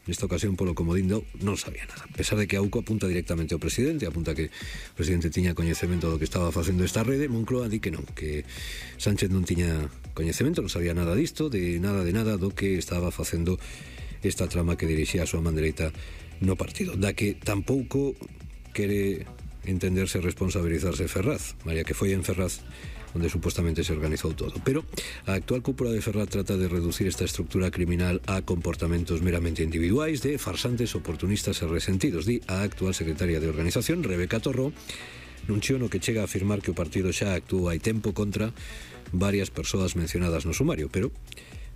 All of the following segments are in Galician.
nesta ocasión polo comodín non sabía nada, a pesar de que a UCO apunta directamente ao presidente, apunta que o presidente tiña coñecemento do que estaba facendo esta rede. Moncloa di que non, que Sánchez non tiña coñecemento, non sabía nada disto, de nada do que estaba facendo esta trama que dirixía a súa man dereita no partido, da que tampouco quere entenderse responsabilizarse Ferraz, María, que foi en Ferraz onde supostamente se organizou todo. Pero a actual cúpula de Ferraz trata de reducir esta estructura criminal a comportamentos meramente individuais de farsantes, oportunistas e resentidos, di a actual secretaria de organización, Rebeca Torró, nun chío no que chega a afirmar que o partido xa actuou hai tempo contra varias persoas mencionadas no sumario, pero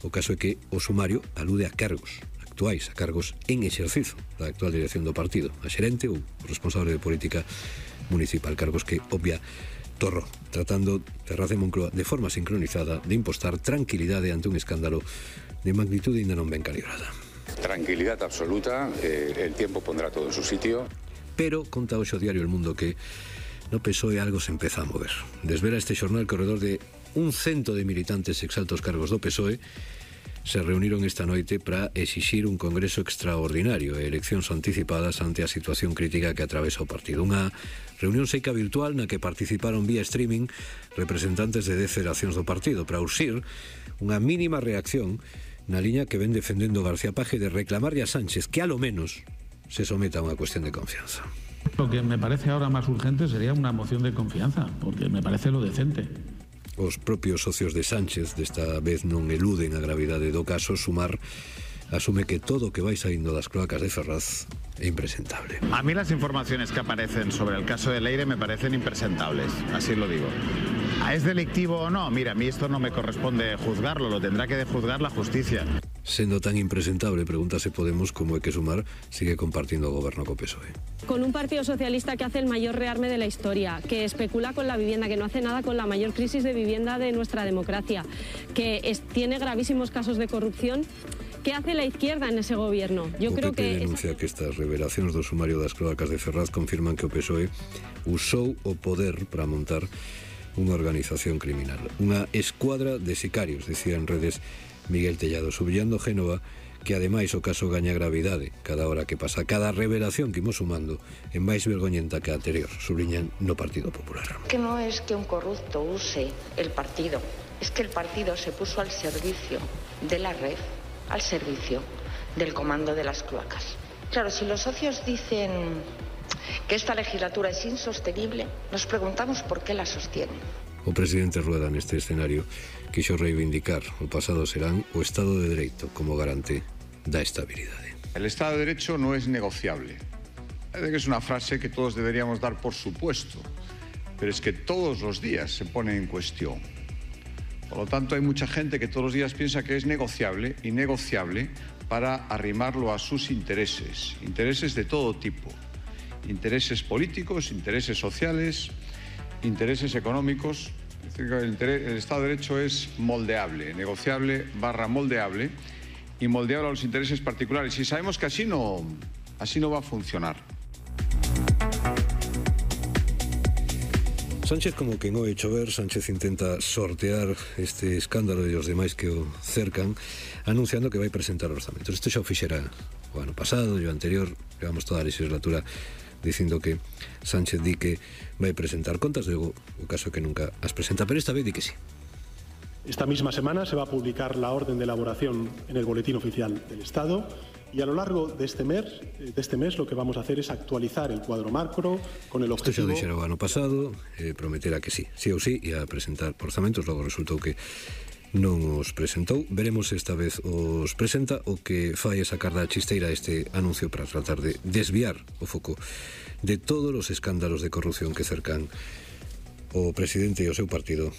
o caso é que o sumario alude a cargos actuais, a cargos en exercizo da actual dirección do partido, a xerente ou responsable de política municipal, cargos que obvia Torró, tratando Ferraz e Moncloa de forma sincronizada de impostar tranquilidade ante un escándalo de magnitude ainda non ben calibrada. Tranquilidad absoluta, el tiempo pondrá todo en su sitio. Pero conta hoxe o diario El Mundo que no PSOE algo se empeza a mover. Desvela este xornal que ao redor de 100 de militantes exaltos cargos do PSOE se reuniron esta noite para exixir un congreso extraordinario e eleccións anticipadas ante a situación crítica que atravesa o partido. Unha reunión seica virtual na que participaron vía streaming representantes de 10 federacións do partido para urxir unha mínima reacción na liña que ven defendendo García Paje de reclamarlle a Sánchez que a lo menos se someta a unha cuestión de confianza. Lo que me parece ahora más urgente sería una moción de confianza, porque me parece lo decente. Os propios socios de Sánchez desta vez non eluden a gravidade do caso. Sumar asume que todo o que vai saindo das cloacas de Ferraz é impresentable. A mí las informaciones que aparecen sobre el caso de Leire me parecen impresentables, así lo digo. ¿Es delictivo o no? Mira, a mí esto no me corresponde juzgarlo, lo tendrá que juzgar la justicia. Sendo tan impresentable, pregúntase Podemos como é que Sumar sigue compartindo o goberno co PSOE. Con un partido socialista que hace el mayor rearme de la historia, que especula con la vivienda, que no hace nada con la mayor crisis de vivienda de nuestra democracia, que tiene gravísimos casos de corrupción. ¿Qué hace la izquierda en ese gobierno? Yo creo que denuncia que estas revelacións do sumario das cloacas de Ferraz confirman que o PSOE usou o poder para montar unha organización criminal, unha escuadra de sicarios, decía en redes Miguel Tellado, subrillando Génova que ademais o caso gaña gravidade cada hora que pasa, cada revelación que imos sumando é máis vergoñenta que a anterior, subliñan no Partido Popular. Que no es que un corrupto use el partido, es que el partido se puso al servicio de la red, al servicio del comando de las cloacas. Claro, si los socios dicen que esta legislatura es insostenible, nos preguntamos por qué la sostienen. O presidente Rueda neste escenario quixo reivindicar o pasado serán o Estado de Dereito como garante da estabilidade. El Estado de Derecho no es negociable. Parece que es una frase que todos deberíamos dar por supuesto, pero es que todos los días se pone en cuestión. Por lo tanto, hay mucha gente que todos los días piensa que es negociable y negociable para arrimarlo a sus intereses, intereses de todo tipo, intereses políticos, intereses sociales, intereses económicos. Es decir, el Estado de Derecho es moldeable, negociable / moldeable y moldeable a los intereses particulares. Y sabemos que así no va a funcionar. Sánchez como que no hecho ver, Sánchez intenta sortear este escándalo de los demais que o cercan, anunciando que vai presentar orzamentos. Isto xa o fixera o ano pasado e o anterior, llevamos toda a legislatura dicindo que Sánchez di que vai presentar contas, luego o caso é que nunca as presenta, pero esta vez di que sí. Esta misma semana se va a publicar la orden de elaboración en el Boletín Oficial del Estado y a lo largo de este mes lo que vamos a hacer es actualizar el cuadro macro con el objetivo... Isto xa dixera o ano pasado, prometera que sí ou sí, e a presentar orzamentos, logo resultou que non os presentou. Veremos esta vez os presenta, o que fai é sacar da chisteira este anuncio para tratar de desviar o foco de todos os escándalos de corrupción que cercan o presidente e o seu partido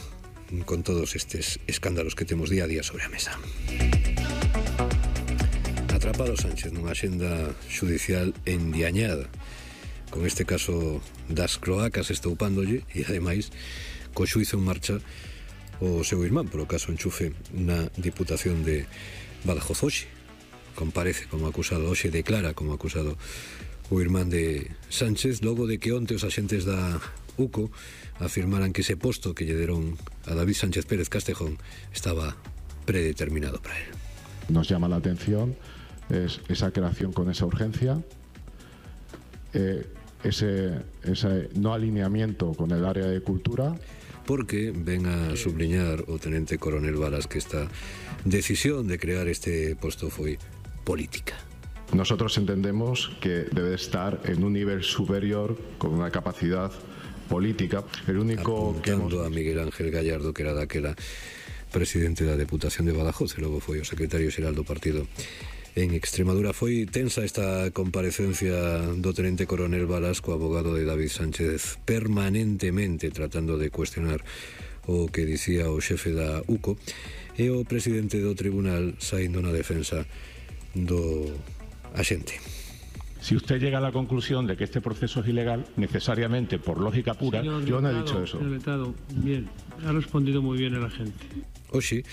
con todos estes escándalos que temos día a día sobre a mesa. Atrapado Sánchez nunha axenda xudicial endiañada, con este caso das cloacas estoupándolle e ademais co xuizo en marcha o seu irmán polo caso Enchufe na Diputación de Badajoz. Hoxe comparece como acusado, hoxe declara como acusado o irmán de Sánchez, logo de que onte os axentes da UCO afirmaran que ese posto que lle deron a David Sánchez Pérez Castejón estaba predeterminado para él. Nos llama la atención es esa creación con esa urgencia, ese no alineamiento con el área de cultura. Porque ven a subliñar o Tenente Coronel Balas que esta decisión de crear este posto foi política. Nosotros entendemos que debe estar en un nivel superior con una capacidad política. El único apuntando a Miguel Ángel Gallardo, que era daquela presidente da Deputación de Badajoz e logo foi o secretario xeral do partido en Extremadura. Foi tensa esta comparecencia do Tenente Coronel Balas co abogado de David Sánchez, permanentemente tratando de cuestionar o que dicía o xefe da UCO, e o presidente do tribunal saindo na defensa do agente. Si usted llega a la conclusión de que este proceso es ilegal, necesariamente, por lógica pura... Yo no he dicho eso. Bien, ha respondido muy bien el agente. Hoxe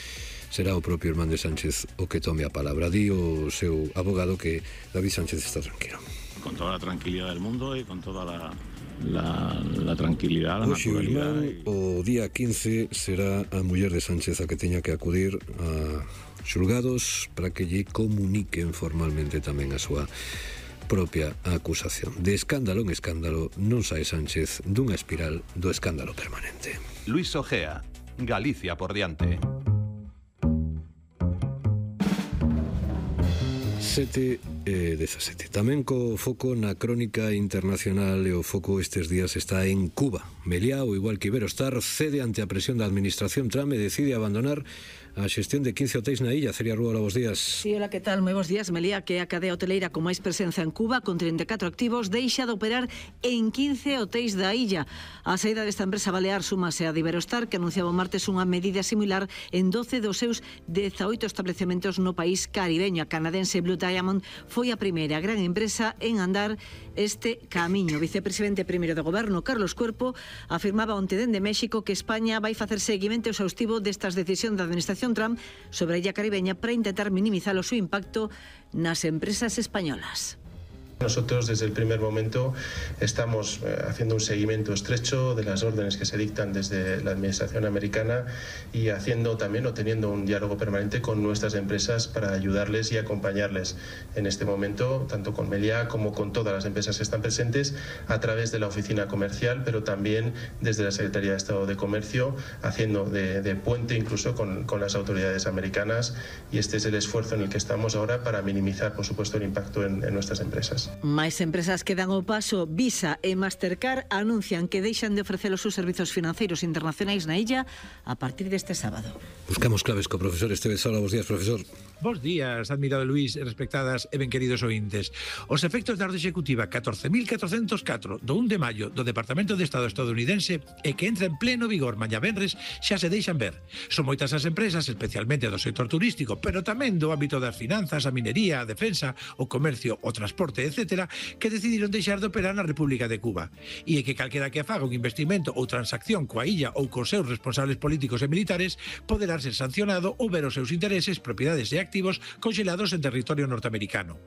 será o propio Hernández Sánchez o que tome a palabra. Di o seu abogado que David Sánchez está tranquilo. Con toda la tranquilidad del mundo y con toda la tranquilidad, la naturalidad. O día 15 será a muller de Sánchez a que teña que acudir a xulgados para que lle comuniquen formalmente tamén a súa propia acusación. De escándalo en escándalo non sae Sánchez dunha espiral do escándalo permanente. Luis Ojea, Galicia por diante. 7:17. Tamén co foco na crónica internacional, e o foco estes días está en Cuba. Meliá, o igual que Iberostar, cede ante a presión da administración Trump e decide abandonar a xestión de 15 hotéis na illa. Celia Rúa, hola, bos días. Sí, hola, que tal? Moi bos días. Meliá, que é a cadea hoteleira con máis presenza en Cuba, con 34 activos, deixa de operar en 15 hotéis da illa. A saída desta empresa balear súmase a de Iberostar, que anunciaba o martes unha medida similar en 12 dos seus 18 establecementos no país caribeño. A canadense Blue Diamond foi a primeira gran empresa en andar este camiño. O vicepresidente primeiro do goberno, Carlos Cuerpo, afirmaba onte dende México que España vai facer seguimento exhaustivo destas decisións da administración Trump sobre a illa caribeña para intentar minimizar o seu impacto nas empresas españolas. Nosotros desde el primer momento estamos haciendo un seguimiento estrecho de las órdenes que se dictan desde la administración americana y haciendo también o teniendo un diálogo permanente con nuestras empresas para ayudarles y acompañarles en este momento, tanto con Meliá como con todas las empresas que están presentes a través de la oficina comercial, pero también desde la Secretaría de Estado de Comercio, haciendo de puente incluso con las autoridades americanas, y este es el esfuerzo en el que estamos ahora para minimizar, por supuesto, el impacto en nuestras empresas. Máis empresas que dan o paso. Visa e Mastercard anuncian que deixan de ofrecer os seus servizos financeiros internacionais na illa a partir deste sábado. Buscamos claves co profesor Esteves. Hola, bos días, profesor. Bos días, admirado Luís, respectadas e ben queridos ointes. Os efectos da orde executiva 14.404 do 1 de maio do Departamento de Estado estadounidense e que entra en pleno vigor mañá venres xa se deixan ver. Son moitas as empresas, especialmente do sector turístico, pero tamén do ámbito das finanzas, a minería, a defensa, o comercio, o transporte, etc., que decidiron deixar de operar na República de Cuba. E que calquera que faga un investimento ou transacción coa illa ou cos seus responsables políticos e militares poderá ser sancionado ou ver os seus intereses, propiedades e activos congelados en territorio norteamericano.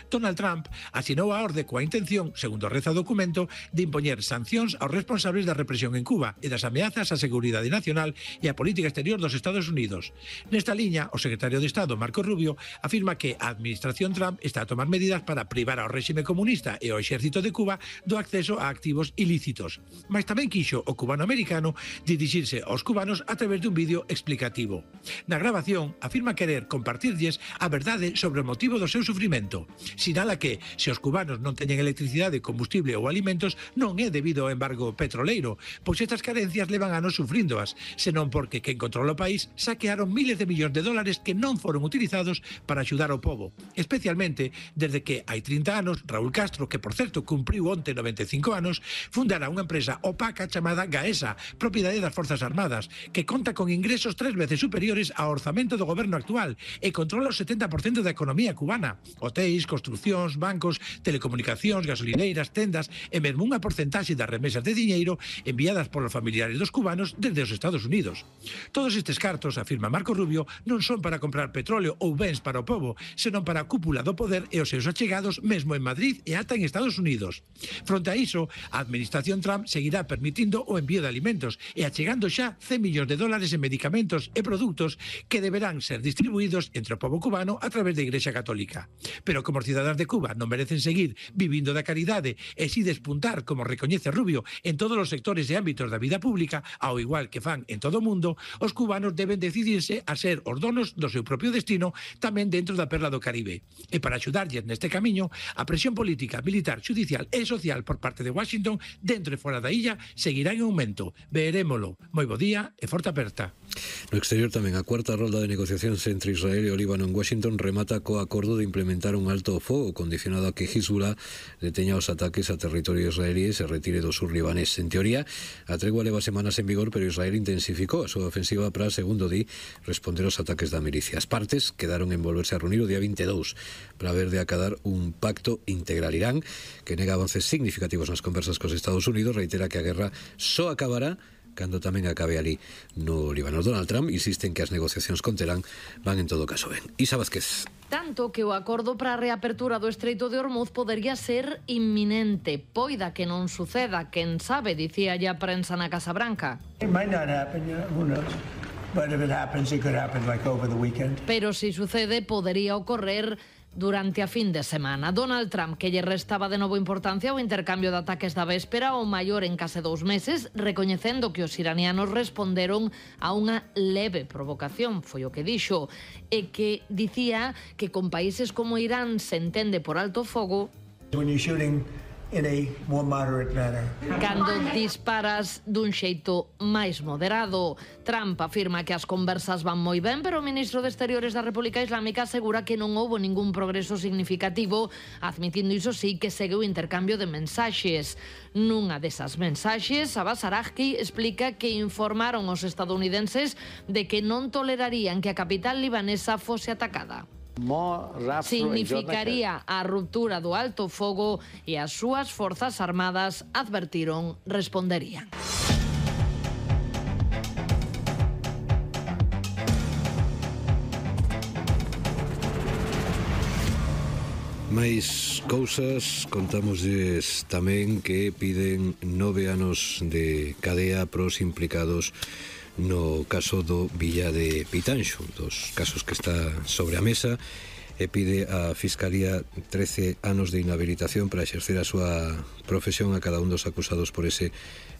Donald Trump asinou a orde coa intención, segundo reza o documento, de impoñer sancións aos responsables da represión en Cuba e das ameazas á seguridade nacional e á política exterior dos Estados Unidos. Nesta liña, o secretario de Estado, Marco Rubio, afirma que a administración Trump está a tomar medidas para privar ao réxime comunista e ao exército de Cuba do acceso a activos ilícitos. Mas tamén quixo o cubano-americano dirixirse aos cubanos a través de un vídeo explicativo. Na grabación, afirma querer compartirlles a verdade sobre o motivo do seu sufrimento. Sinala que, se os cubanos non teñen electricidade, combustible ou alimentos, non é debido ao embargo petroleiro, pois estas carencias levan anos sufríndoas, senón porque quen controla o país saquearon miles de millóns de dólares que non foron utilizados para axudar ao pobo, especialmente desde que hai 30 anos Raúl Castro, que por certo cumpriu onte 95 anos, fundara unha empresa opaca chamada Gaesa, propiedade das Forzas Armadas, que conta con ingresos 3 veces superiores ao orzamento do goberno actual e controla o 70% da economía cubana. Hotéis, hoteis, construcións, bancos, telecomunicacións, gasolineiras, tendas e mesmo unha porcentaxe das remesas de diñeiro enviadas polos familiares dos cubanos desde os Estados Unidos. Todos estes cartos, afirma Marco Rubio, non son para comprar petróleo ou bens para o pobo, senón para a cúpula do poder e os seus achegados mesmo en Madrid e ata en Estados Unidos. Fronte a iso, a administración Trump seguirá permitindo o envío de alimentos e achegando xa 100 millóns de dólares en medicamentos e produtos que deberán ser distribuídos entre o pobo cubano a través da Igrexa Católica. Pero como os cidadáns de Cuba non merecen seguir vivindo da caridade e si despuntar, como recoñece Rubio, en todos os sectores e ámbitos da vida pública, ao igual que fan en todo o mundo, os cubanos deben decidirse a ser os donos do seu propio destino tamén dentro da perla do Caribe. E para axudarlles neste camiño, a presión política, militar, judicial e social por parte de Washington, dentro e fora da illa, seguirá en aumento. Verémolo. Moi bo día e forte aperta. No exterior tamén, a cuarta rolda de negociacións entre Israel e o Líbano en Washington remata co acordo de implementar un alto ao fogo condicionado a que Hezbollah deteña os ataques a territorio israelíes e retire do sur libanés. En teoría, a tregua leva semanas en vigor, pero Israel intensificou a súa ofensiva para, segundo di, responder aos ataques da milicia. As partes quedaron en volverse a reunir o día 22 para ver de acadar un pacto integral. Irán, que nega avances significativos nas conversas cos Estados Unidos, reitera que a guerra só acabará cando tamén acabe ali no Líbano. Donald Trump insiste en que as negociacións con Teherán van en todo caso ben. Isa Vázquez. Tanto que o acordo para a reapertura do Estreito de Hormuz podería ser inminente. Poida que non suceda, quen sabe, dicía a prensa na Casa Branca. It might not happen, who knows? But if it happens, it could happen like over the weekend. Pero si sucede, podería ocorrer durante a fin de semana. Donald Trump, que lle restaba de novo importancia ao intercambio de ataques da véspera, o maior en case 2 meses, recoñecendo que os iranianos responderon a unha leve provocación, foi o que dixo, e que dicía que con países como Irán se entende por alto fogo when you're shooting in a more moderate manner. Cando disparas dun xeito máis moderado. Trump afirma que as conversas van moi ben, pero o ministro de Exteriores da República Islámica asegura que non houbo ningún progreso significativo, admitindo iso sí que segue o intercambio de mensaxes. Nunha desas mensaxes, Abbas Araghchi explica que informaron os estadounidenses de que non tolerarían que a capital libanesa fose atacada. Significaría a ruptura do alto fogo e as súas forzas armadas advertiron responderían. Máis cousas, contámoslles tamén que piden 9 anos de cadea pros implicados no caso do Villa de Pitanxo, dos casos que está sobre a mesa, e pide a Fiscalía 13 anos de inhabilitación para exercer a súa profesión a cada un dos acusados por ese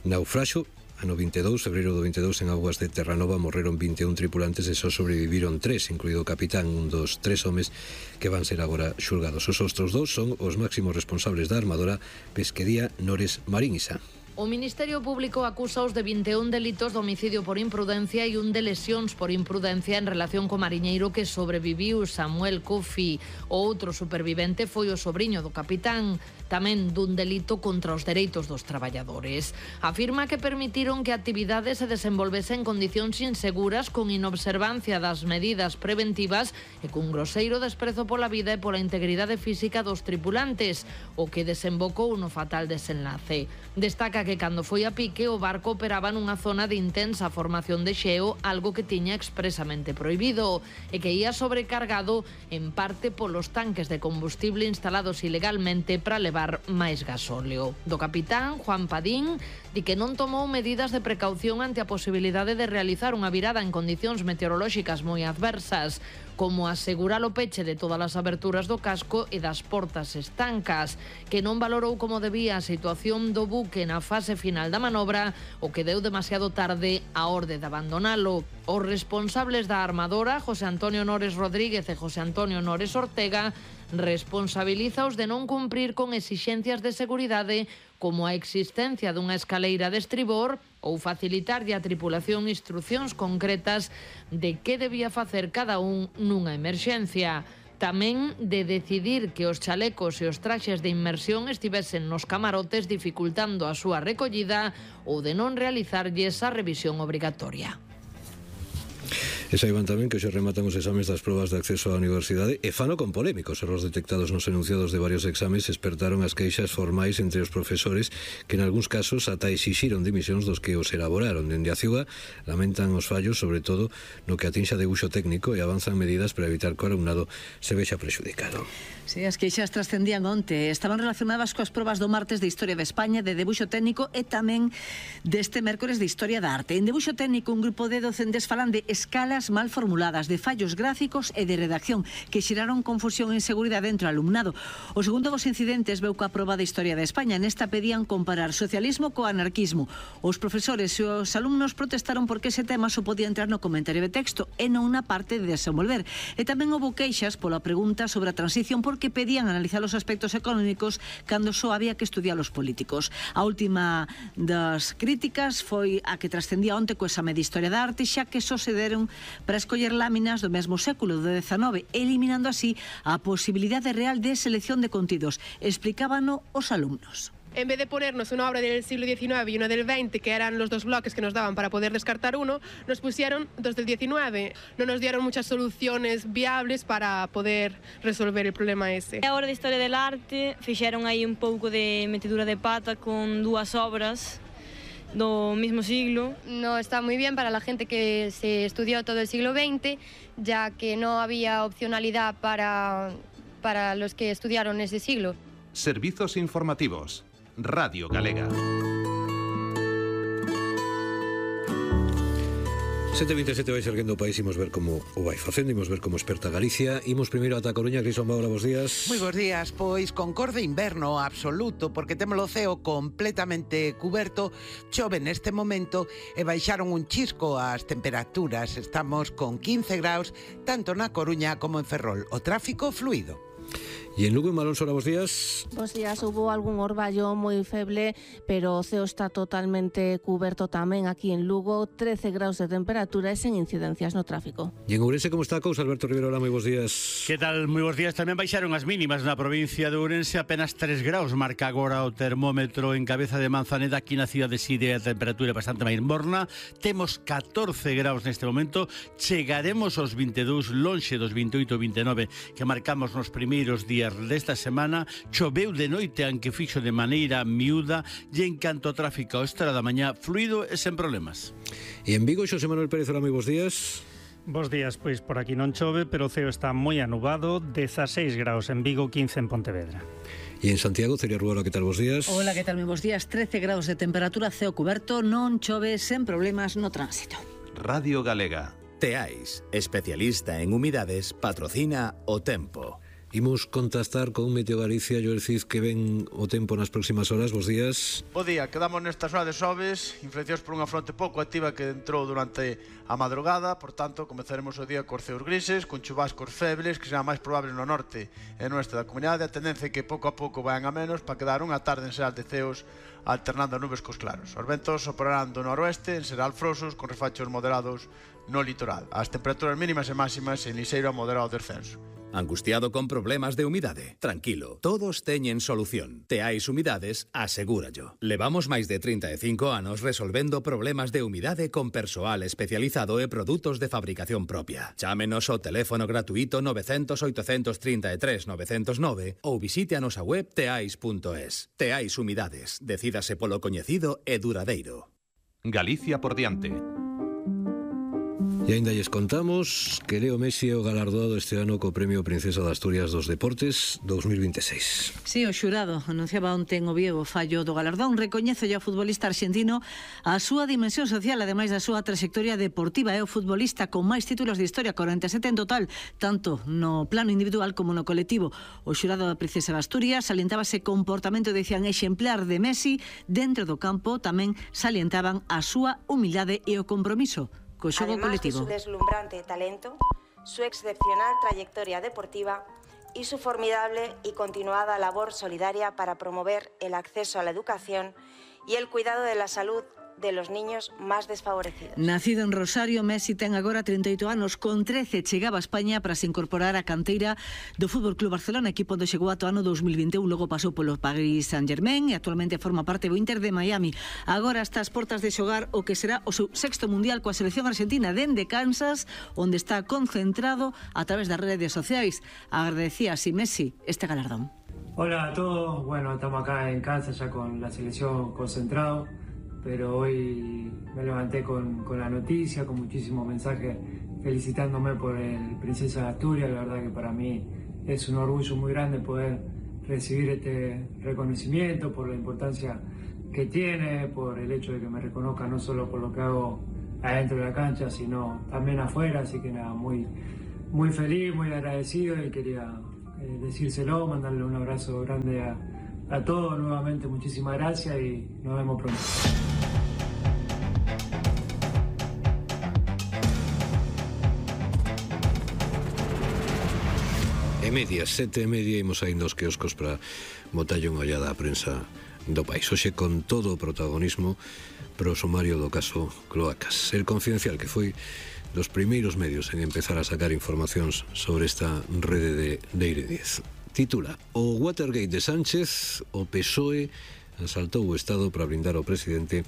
naufraxo. Ano 22, febreiro do 22, en augas de Terranova morreron 21 tripulantes e só sobreviviron 3, incluído o capitán, un dos 3 homes que van ser agora xulgados. Os outros 2 son os máximos responsables da armadora Pesquería Nores Marín. Isa. O Ministerio Público acúsaos de 21 delitos de homicidio por imprudencia e un de lesións por imprudencia en relación co mariñeiro que sobreviviu, Samuel Kofi. O outro supervivente foi o sobriño do capitán, tamén dun delito contra os dereitos dos traballadores. Afirma que permitiron que a actividade se desenvolvese en condicións inseguras con inobservancia das medidas preventivas e cun groseiro desprezo pola vida e pola integridade física dos tripulantes, o que desembocou no fatal desenlace. Destaca que cando foi a pique o barco operaba nunha zona de intensa formación de xeo, algo que tiña expresamente prohibido, e que ia sobrecargado en parte polos tanques de combustible instalados ilegalmente para levar máis gasóleo. Do capitán, Juan Padín, di que non tomou medidas de precaución ante a posibilidade de realizar unha virada en condicións meteorolóxicas moi adversas, como asegurar o peche de todas as aberturas do casco e das portas estancas, que non valorou como debía a situación do buque na fase final da manobra, o que deu demasiado tarde a orde de abandonalo. Os responsables da armadora, José Antonio Nores Rodríguez e José Antonio Nores Ortega, responsabilizaos de non cumprir con exixencias de seguridade como a existencia dunha escaleira de estribor ou facilitarlle a tripulación instruccións concretas de que debía facer cada un nunha emerxencia. Tamén de decidir que os chalecos e os traxes de inmersión estivesen nos camarotes dificultando a súa recollida ou de non realizarlles a revisión obrigatoria. E saiban tamén que hoxe rematan os exames das probas de acceso á universidade e fano con polémicos erros detectados nos enunciados de varios exames despertaron as queixas formais entre os profesores que en algúns casos ata exixiron dimisións dos que os elaboraron. Dende a CIUA lamentan os fallos, sobre todo no que atinxa debuxo técnico, e avanzan medidas para evitar que o alumnado se vexa prexudicado. Sí, as queixas trascendían onte. Estaban relacionadas coas probas do martes de Historia de España, de debuxo técnico e tamén deste mércores de Historia da Arte. En debuxo técnico, un grupo de docentes falan de escalas mal formuladas, de fallos gráficos e de redacción que xeraron confusión e inseguridade entre o alumnado. O segundo dos incidentes veu coa proba de Historia de España. Nesta pedían comparar socialismo co anarquismo. Os profesores e os alumnos protestaron porque ese tema só podía entrar no comentario de texto e non na parte de desenvolver. E tamén houve queixas pola pregunta sobre a transición porque pedían analizar os aspectos económicos cando só había que estudiar os políticos. A última das críticas foi a que trascendía onte co exame de Historia da Arte, xa que só se deron para escoller láminas do mesmo século, do XIX, eliminando así a posibilidade real de selección de contidos. Explicábano os alumnos. En vez de ponernos una obra del siglo XIX y una del XX, que eran los dos bloques que nos daban para poder descartar uno, nos pusieron dos del XIX. No nos dieron muchas soluciones viables para poder resolver el problema ese. A hora de Historia del Arte fixeron aí un pouco de metedura de pata con dúas obras do mismo siglo. No está muy bien para la gente que se estudió todo el siglo XX, ya que no había opcionalidad para los que estudiaron ese siglo. Servizos informativos. Radio Galega. 7:27 vai erguendo o país, imos ver como o vai facendo, imos ver como experta Galicia. Imos primeiro ata Coruña. Crison Baura, bos días. Moi bos días, pois con cor de inverno absoluto, porque temos o ceo completamente cuberto, chove neste momento e baixaron un chisco as temperaturas. Estamos con 15 graus, tanto na Coruña como en Ferrol. O tráfico fluido. E en Lugo, en Malón Sora, bos días. Bos días, hubo algún orballo moi feble, pero o ceo está totalmente cuberto tamén aquí en Lugo, 13 graus de temperatura e sen incidencias no tráfico. E en Ourense, como está a cousa? Alberto Rivero, hola, moi bos días. Que tal? Moi bos días. Tamén baixaron as mínimas na provincia de Ourense, apenas 3 graus marca agora o termómetro en Cabeza de Manzaneda. Aquí na cidade de Side a temperatura é bastante máis morna. Temos 14 graus neste momento, chegaremos aos 22, lonxe dos 28 e 29 que marcamos nos primeiros días desta semana. Choveu de noite, aunque fixo de maneira miúda, e en canto ao tráfico a esta hora da mañá, fluido e sen problemas. E en Vigo, Xosé Manuel Pérez, hola, moi bos días. Bos días, pois por aquí non chove, pero o ceo está moi anubado, 16 graus en Vigo, 15 en Pontevedra. E en Santiago, Celia Ruola, que tal, bos días? Hola, que tal, moi bos días, 13 graus de temperatura, ceo cuberto, non chove, sen problemas no tránsito. Radio Galega. Teais, especialista en humidades, patrocina o tempo. Imos contactar con Meteo Galicia. Joel Cid, que ven o tempo nas próximas horas. Bos días. Bo día, quedamos nesta zona de xoves, influenciados por unha fronte pouco activa que entrou durante a madrugada. Por tanto, comezaremos o día cos ceos grises, con chubascos febles, que será máis probable no norte e no oeste da comunidade. A tendencia é que pouco a pouco vayan a menos para quedar unha tarde en xeral de ceos alternando nubes cos claros. Os ventos soprarán do noroeste, en xeral frosos, con refachos moderados no litoral. As temperaturas mínimas e máximas en liseiro a moderado descenso. Angustiado con problemas de humidade? Tranquilo, todos teñen solución. Teais Humidades, asegúrallo. Levamos máis de 35 anos resolvendo problemas de humidade con persoal especializado e produtos de fabricación propia. Chámenos ao teléfono gratuito 900 833 909 ou visite a nosa web teais.es. Teais Humidades, decídase polo coñecido e duradeiro. Galicia por diante. E ainda lles contamos que Leo Messi é o galardoado este ano co Premio Princesa de Asturias dos Deportes 2026. Sí, o xurado anunciaba onte en Oviedo o fallo do galardón. Recoñece ao futbolista argentino a súa dimensión social, ademais da súa trayectoria deportiva. É o futbolista con máis títulos de historia, 47 en total, tanto no plano individual como no colectivo. O xurado da Princesa de Asturias salientaba ese comportamento, decían, exemplar de Messi dentro do campo. Tamén salientaban a súa humildade e o compromiso co xogo colectivo. Además de su deslumbrante talento, su excepcional trayectoria deportiva y su formidable y continuada labor solidaria para promover el acceso a la educación y el cuidado de la salud de los niños más desfavorecidos. Nacido en Rosario, Messi ten agora 38 anos. Con 13 chegaba a España para se incorporar á canteira do Fútbol Club Barcelona, equipo onde chegou ata o ano 2021, logo pasou polo Paris Saint-Germain e actualmente forma parte do Inter de Miami. Agora está ás portas de xogar o que será o seu sexto mundial coa selección argentina dende Kansas, onde está concentrado a través das redes sociais. Agradecía así Messi este galardón. Hola a todos, bueno, estamos acá en Kansas ya con la selección concentrado, pero hoy me levanté con la noticia, con muchísimos mensajes felicitándome por el Princesa de Asturias. La verdad que para mí es un orgullo muy grande poder recibir este reconocimiento, por la importancia que tiene, por el hecho de que me reconozcan no solo por lo que hago adentro de la cancha, sino también afuera. Así que nada, muy feliz, muy agradecido, y quería decírselo, mandarle un abrazo grande a todos. Nuevamente muchísimas gracias y nos vemos pronto. Medias, 7:30, imos saindo aos quioscos para botalle unha ollada á prensa do país. Hoxe con todo o protagonismo pro sumario do caso Cloacas. El Confidencial, que foi dos primeiros medios en empezar a sacar informacións sobre esta rede de Leire Díez. Titula: O Watergate de Sánchez, o PSOE asaltou o Estado para blindar ao presidente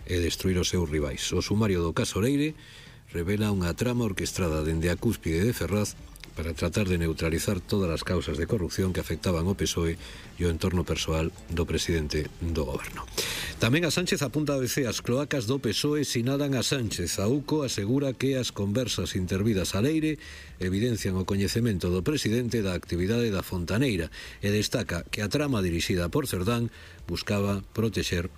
e destruir os seus rivais. O sumario do caso Leire revela unha trama orquestrada dende a cúspide de Ferraz para tratar de neutralizar todas as causas de corrupción que afectaban ao PSOE e o entorno persoal do presidente do goberno. Tamén a Sánchez apunta a ABC: as cloacas do PSOE sinadan a Sánchez. A UCO asegura que as conversas intervidas a Leire evidencian o coñecemento do presidente da actividade da Fontaneira e destaca que a trama dirixida por Cerdán buscaba protexer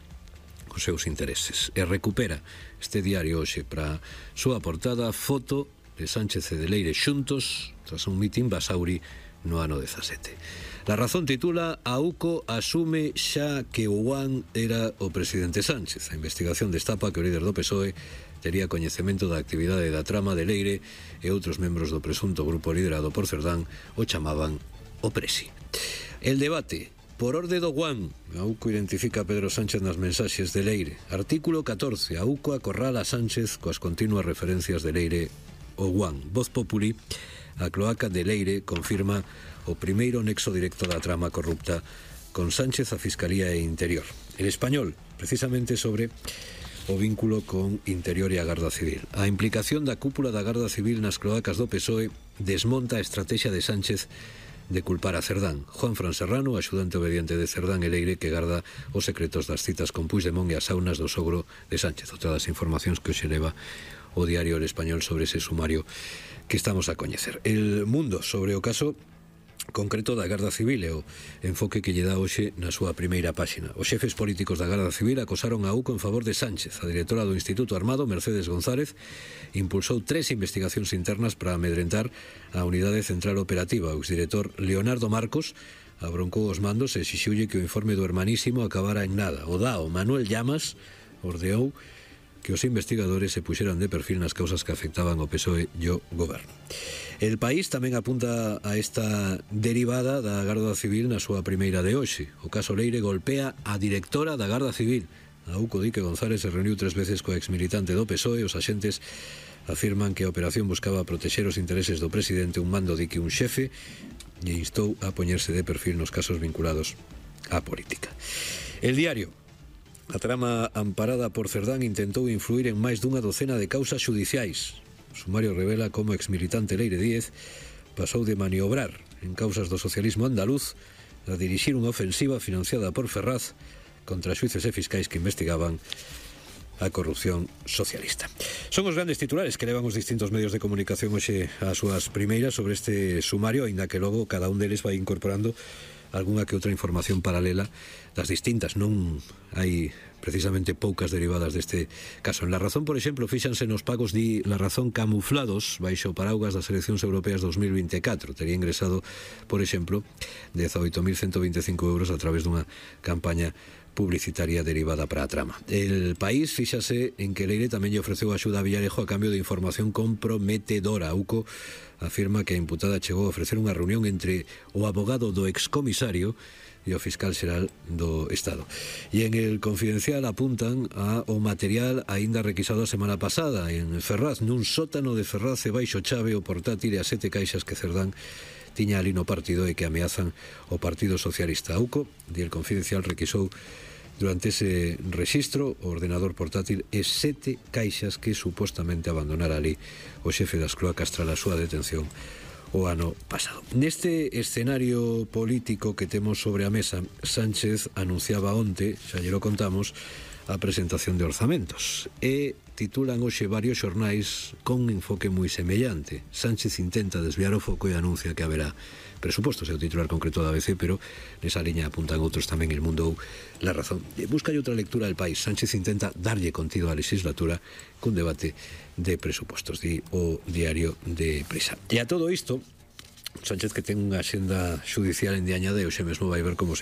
os seus intereses. E recupera este diario hoxe para súa portada foto de Sánchez e de Leire xuntos tras un mitin Basauri no ano 17. La Razón titula: a UCO asume xa que o Juan era o presidente Sánchez. A investigación destapa que o líder do PSOE tería coñecemento da actividade da trama de Leire e outros membros do presunto grupo liderado por Cerdán o chamaban o Presi. El debate: por orde do Juan, a UCO identifica a Pedro Sánchez nas mensaxes de Leire. Artículo 14. A UCO acorrala a Sánchez coas continuas referencias de Leire o Juan. Voz Populi: a cloaca de Leire confirma o primeiro nexo directo da trama corrupta con Sánchez, a Fiscalía e Interior. El Español, precisamente sobre o vínculo con Interior e a Garda Civil. A implicación da cúpula da Garda Civil nas cloacas do PSOE desmonta a estrategia de Sánchez de culpar a Cerdán. Juan Fran Serrano, axudante obediente de Cerdán e Leire, que garda os secretos das citas con Puigdemont e as saunas do sogro de Sánchez. Outra das informacións que hoxe leva o diario El Español sobre ese sumario que estamos a coñecer. El Mundo, sobre o caso concreto da Garda Civil e o enfoque que lle dá hoxe na súa primeira páxina. Os xefes políticos da Garda Civil acosaron a UCO en favor de Sánchez. A directora do Instituto Armado, Mercedes González, impulsou 3 investigacións internas para amedrentar a Unidade Central Operativa. O exdirector Leonardo Marcos abroncou os mandos e exixiulle que o informe do hermanísimo acabara en nada. O DAO, Manuel Llamas, ordeou que os investigadores se puxeran de perfil nas causas que afectaban ao PSOE e o goberno. El País tamén apunta a esta derivada da Garda Civil na súa primeira de hoxe. O caso Leire golpea a directora da Garda Civil. A UCO di que González se reuniu 3 veces coa exmilitante do PSOE. Os axentes afirman que a operación buscaba protexer os intereses do presidente. Un mando di que un xefe lle instou a poñerse de perfil nos casos vinculados á política. El Diario: a trama amparada por Cerdán intentou influir en máis dunha docena de causas xudiciais. O sumario revela como exmilitante Leire Díez pasou de maniobrar en causas do socialismo andaluz a dirixir unha ofensiva financiada por Ferraz contra xuíces e fiscais que investigaban a corrupción socialista. Son os grandes titulares que levan os distintos medios de comunicación hoxe ás súas primeiras sobre este sumario, aínda que logo cada un deles vai incorporando algunha que outra información paralela das distintas. Non hai precisamente poucas derivadas deste caso. En La Razón, por exemplo, fíxanse nos pagos di La Razón camuflados baixo paraugas das eleccións europeas 2024. Tería ingresado, por exemplo, 18.125 euros a través dunha campaña publicitaria derivada para a trama. El País fíxase en que Leire tamén lle ofreceu axuda a Villarejo a cambio de información comprometedora. UCO afirma que a imputada chegou a ofrecer unha reunión entre o abogado do excomisario e o fiscal xeral do Estado. E en el Confidencial apuntan ao material aínda requisado a semana pasada en Ferraz, nun sótano de Ferraz e baixo chave o portátil e as 7 caixas que Cerdán tiña ali no partido e que ameazan o Partido Socialista. AUCO, di el Confidencial, requisou durante ese rexistro o ordenador portátil e 7 caixas que supostamente abandonara ali o xefe das cloacas tras a súa detención o ano pasado. Neste escenario político que temos sobre a mesa, Sánchez anunciaba onte, xa lle lo contamos, a presentación de orzamentos e titulan hoxe varios xornais con un enfoque moi semellante. Sánchez intenta desviar o foco e anuncia que haberá presupostos, é o titular concreto da ABC, pero nesa liña apuntan outros tamén, El Mundo ou La Razón. Busca outra lectura del país. Sánchez intenta darlle contido á legislatura cun debate de presupostos, di o diario de Prisa. E a todo isto, Sánchez, que ten unha xenda judicial endiañada e hoxe mesmo vai ver como se